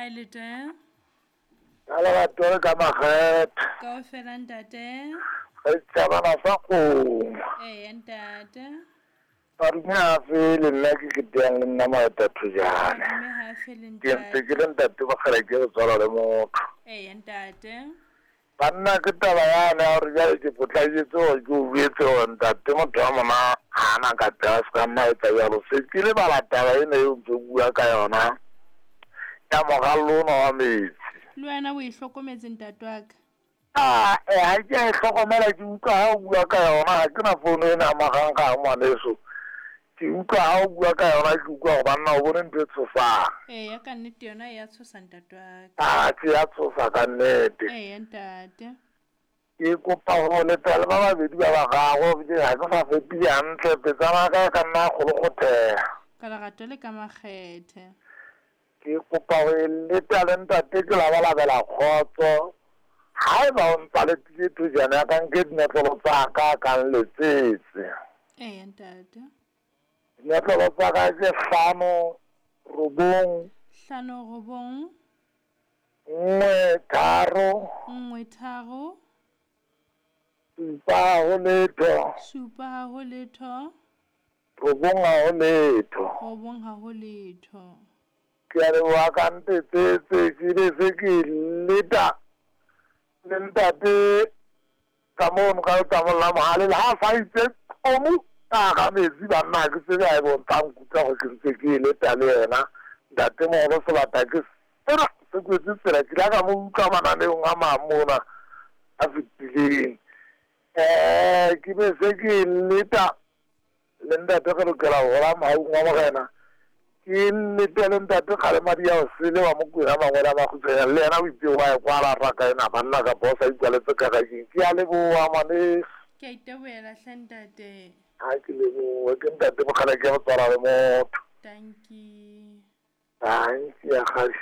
Hi Lete. Ka lerato le ka makgethe. Kaofela ntate. Re tšhabana sa kgomo. Eya ntate. Madume a fele nna ke keteang le nna Maeta Thojane. Madume ha a fele Ke ntse ntate. ke le ntate Mokgela ke re tswalwa le motho. Eya ntate. Banna ke taba yane ya gore jale ke potlaketse gore ke o jwetse gore ntate motho wa mona ga ana ka pela se ka nna etsa jalo. Se ke lebala taba ena eo ntse o bua ka yona ya morallo ona wa metsi. Le wena o e hlokometse ntate wa ka. A e ha ke a e hlokomela ke utlwa ha o bua ka yona ha ke na founu ena ya marangrang ngwaneso. Ke utlwa ha o bua ka yona ke utlwa gore banna o bone ntho e tshosang. Eya ka nnete yona e ya tshosa ntate wa ka. A ke ya tshosa ka nnete. Eya ntate. Ke kopa go leta le ba babedi ba bararo ke ga ke sa fepile hantle petsana ka e ka nna kgologothega. Ka lerato le ka makgethe. Ke kopa go e leta le ntate ke labalabela kgotso. Haeba o ntsa letile thojana ya ka nke dinotlolo tsa ka ka nletsetse. Eya ntate. Dinotlolo tsa ka ke 5 9 5 9 1 3 1 3 7 0 7 0 9 0 9 0. Ke a leboha ka ntetsetse ke be se ke leta le ntate ka mono ka letamong la mohale le ha sa itse qomo ka hara metsi banna ha ke tsebe ha ebe o ntsa nkutlwa gore ke ntse ke e leta le yena ntate moholo sebata ke sena se kwetse tsela ke ile ka mo utlwa mananeong a mang mona a fetileng. Ke be se ke leta le ntate re lokela ho hola mohaung wa morena. Ke lete le ntate Kgalemadi ya Osele wa Mokwena mangwele a makgutshwanyane le yena o itse wa e kwala raka ena banna kapa o sa ikwaletse karakeng. Ke a leboha ngwaneso. Ke a itebohela hle ntate. Ha ke lebohe ke ntate Mokgala ke go tswala le motho. Dankie. Dankie ya kgadi.